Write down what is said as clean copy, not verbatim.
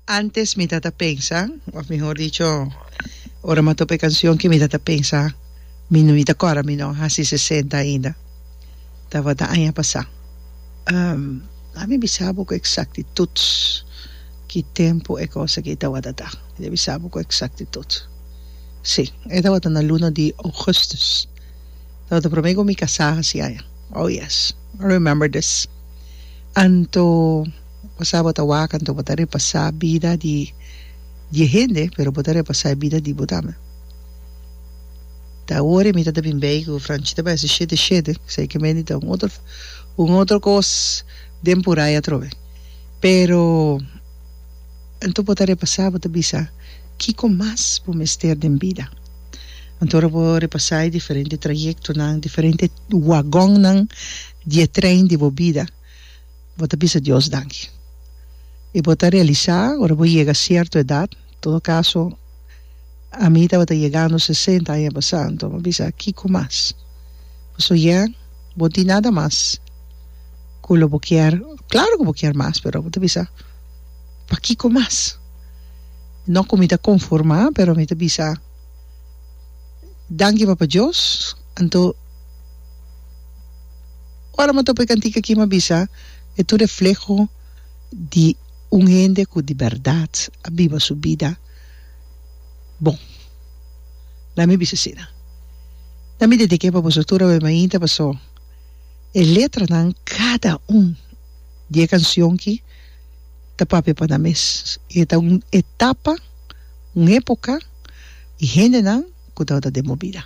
Antes mi ta ta pensa, of mihor dicho, ora mi a topa e cancion ki mi ta ta pensa, mi no mi ta cora mi no haci sesenta ainda. Tabata aña pasa. Ami bisa bo cu exactitud ki tempo e cos aki tabata ta. Mi ta bisa bo cu exactitud. Si, e tabata na luna di augustus. Tabata prome cu mi casa haci aña. Oh yes, I remember this. Anto. Bo sa bo ta wak anto bo ta repasá bida di di e hende pero bo ta repasá e bida di bo tambe. Ta awor e mi ta ta bin bei ku Franchi ta bai hasi shete shete esei ke mende ta un otro un otro kos den purai atrobe. Pero anto bo ta repasá bo ta bisa kiko mas bo mester den bida. Anto ora bo repasá e diferente trayektonan diferente wagonnan di e trein di bo bida. Bo ta bisa Dios danki. I bo ta realisá ora bo yega sierto edat, todo kaso ami tabata yegando sesenta aña pasá, anto mi a bisa kiko mas? Pasobra ya bo no tin nada mas ku lo bo kier, klaro ku bo kier mas, pero bo ta bisa pakiko mas? No ku mi ta konformá, pero mi ta bisa danki Papa Dios, anto. Ora mi a topa e kantika aki mi a bisa e ta un refleho di un hende ku di bèrdat a biba su bida bon. Laat mi bisa asina. Na mi dedik'é pa boso tur awe mainta paso e letranan kada un di e kansion ki ta papia pa nan mes. I e ta un etapa, un epoka i hendenan ku tabata den bo bida.